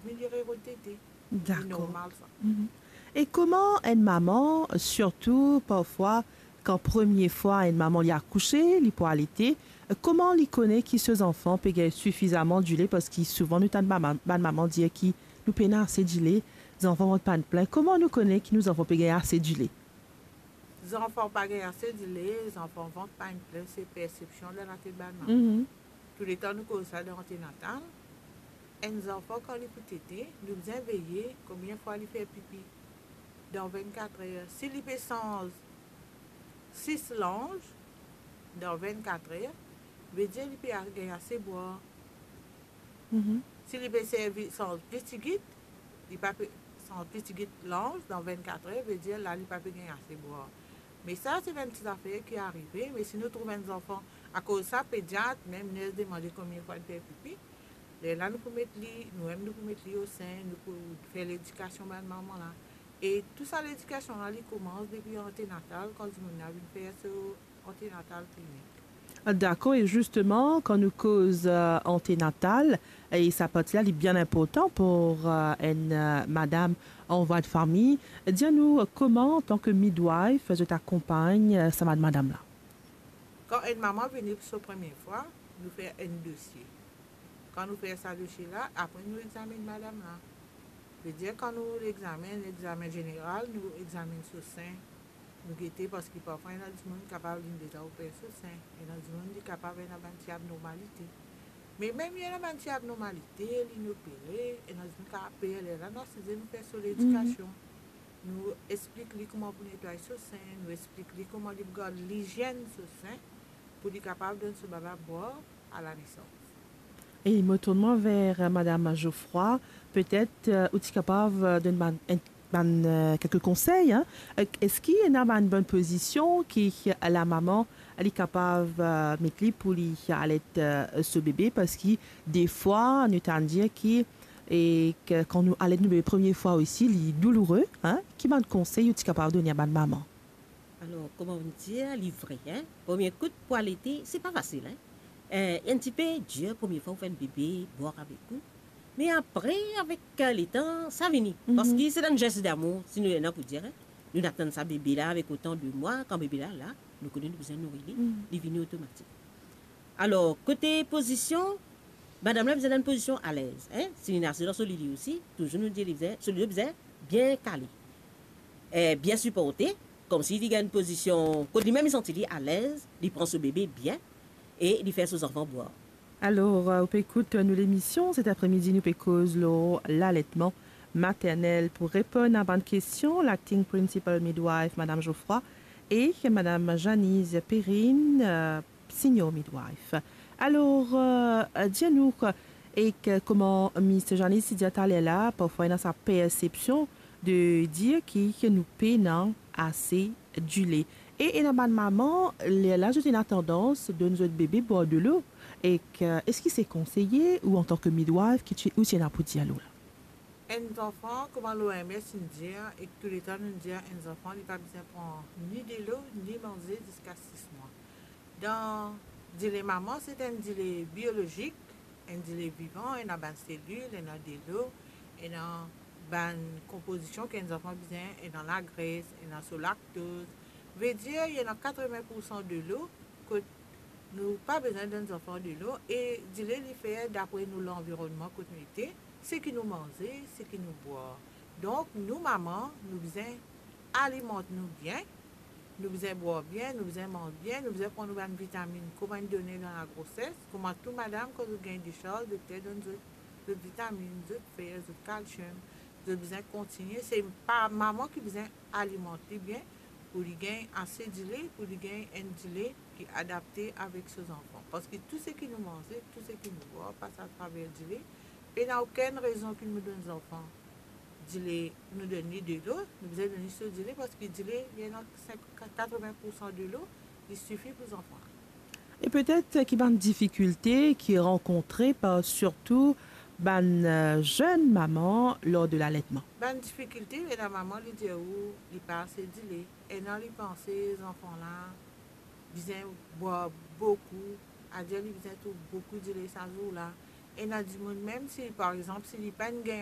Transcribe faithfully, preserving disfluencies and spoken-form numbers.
vinn li rerod tete. Dakor. Normal sa. E kouma enn mama, sirtou parfwa kan premie fwa enn mama li akouse, li pou alete, kouma li kone ki so zanfan pe gagn sifizaman dile? Parski souvan nou tann mama, bann mama dir ki nou pena ase dile, zanfan vant pa'nn plin. Kouma nou kone ki nou zanfan pe gagn ase dile? Zanfan pa gagn ase dile, zanfan vant pa'nn plin, se persepsion dan latet bann mama. Touletan nou koz sa dan antenatal, enn zanfan kan li pou tete, nou bizin veye konbien fwa li fer pipi dan vennkat er. Si li pe sanz sis lanz dan vennkat er, vedir li pe a-, gagn ase bwar. Si li pe servi sanz pli tigit, li pa pe sanz pli tigit lanz dan vennkat er, vedir la li pa pe gagn ase bwar. Me sa se bann ti zafer ki arive, me si nou trouv enn zanfan, akoz sa pediat, mem ners demande konbien fwa li fer pipi, lerla nou pou met li, nou mem nou pou met li o sen, nou pou fer ledikasion bann mama la. E tou sa ledikasion la, li koumans depi antenatal, kan dimoun la vinn fer so antenatal klinik. Dakor, e zisteman, kan nou koz, eh, antenatal, e sa parti la, li bien inportan pou, eh, enn, eh, madam an vwa de fami. Dir nou, eh, kouma, antan ke midwife, zot akonpagn, eh, sa bann madam la? Kan enn mama vini pou so premie fwa, nou fer enn dosie. Kan nou fer sa dosie la, apre nou examinn madam la. Vedir kan nou examinn, examen zeneral, nou examinn so sen, nou gete, parski parfwa ena dimoun kapav linn deza oper so sen, ena dimoun li kapav ena bann ti abnormalite. Me mem ena bann ti abnormalite, linn opere, ena dimoun kapav per, lerla nou asize, nou fer so ledikasion. Nou explik li kouma pou netway so sen, nou explik li kouma li pou gard lizienn so sen, pou li kapav donn so bebe bwar a la nesans. E mo tourn mwa ver, eh, madam Geoffroy, petet, eh, ou ti kapav, eh, donn bann, enn, bann, eh, kelke konsey, hein. Eh, eski ena bann bonn pozision ki, eh, lamama li kapav, eh, met li pou li alet, eh, so bebe? Parski defwa nou tann dir ki, e ke kan nou alet nou bebe premie fwa osi, li douloure, hein. Ki bann konsey ou ti kapav donn a bann mama? Alor, kouma nou dir, li vre, hein? Premie kout pou alete, se pa fasil, hein? Eh, enn tipe dir, premie fwa ou fer enn bebe bwar avek ou. Me apre, avek, eh, letan, sa vini. Parski se dan zes damour, si nou ena pou dir, hein? Nou atann sa bebe la avek otan de mwa, kan bebe la la, nou kone nou bizin nouri li, li vini otomatik. Alor, kote pozision, madam la bizin dan enn pozision alez, hein? Si li asize dan so lili osi, touzour nou dir li bizin, so lili bizin bien kale, eh, bien siporte, koumsi li gagn enn pozision kot limem li santi li alez, li pran so bebe bien e li fer so zanfan bwar. Alor, eh, ou pe ekout nou lemision, set apremidi nou pe koz lor laletman maternel. Pou reponn a bann kestion, Acting Principal Midwife, madam Geoffroy, e madam Janice Perrine, eh, Senior Midwife. Alor, eh, dir nou, ek kouma Miss Janice ti dir taler la, parfwa ena sa persepsion de dir ki, ki nou pena ase dile. E ena bann mama, lerla zot ena tandans donn zot bebe bwar delo. Ek, eh, eski se konseye ou antan ke midwife, ki ti, ou ti ena pou dir lor la? Enn zanfan, kouma l'O M S inn dir, ek touletan nou dir, enn zanfan, li pa bizin pran ni delo, ni manze ziska sis mwa. Dan dile mama, se enn dile biolozik, enn dile vivan, ena bann selil, ena delo, ena bann konpozision ki enn zanfan bizin, ena lagres, ena so laktoz. Vedir, ena katreven poursan delo, kot nou pa bizin donn zanfan delo, e dile li fer dapre nou lanvironnman kot nou ete, seki nou manze, seki nou bwar. Donk, nou mama, nou bizin alimant nou bien, nou bizin bwar bien, nou bizin manz bien, nou bizin pran nou bann vitamin kouma inn done dan lagroses, kouma tou madam, kan zot gagn desarz, dokter donn zot, zot vitamin, zot fer, zot kalsiom, zot bizin kontigne. Se pa mama ki bizin alimant li bien, pou li gagn ase dile, pou li gagn enn dile ki adapte avek so zanfan. Parski tou seki nou manze, tou seki nou bwar, pas atraver dile. Pena okenn rezon ki nou donn zanfan dile, nou donn li delo, nou bizin donn li so dile, parski dile, li ena sink, katreven poursan delo, li sifi pou zanfan la. E petet ki bann difikilte ki rankontre par sirtou bann, eh, zenn mama lor de laletman? Bann difikilte, ena mama li dir ou li pa ase dile, ena li panse zanfan la bizin bwar boukou, adir li bizin trouv boukou dile sa zour la. Ena dimoun, mem si, par exanp, si li pa'nn gagn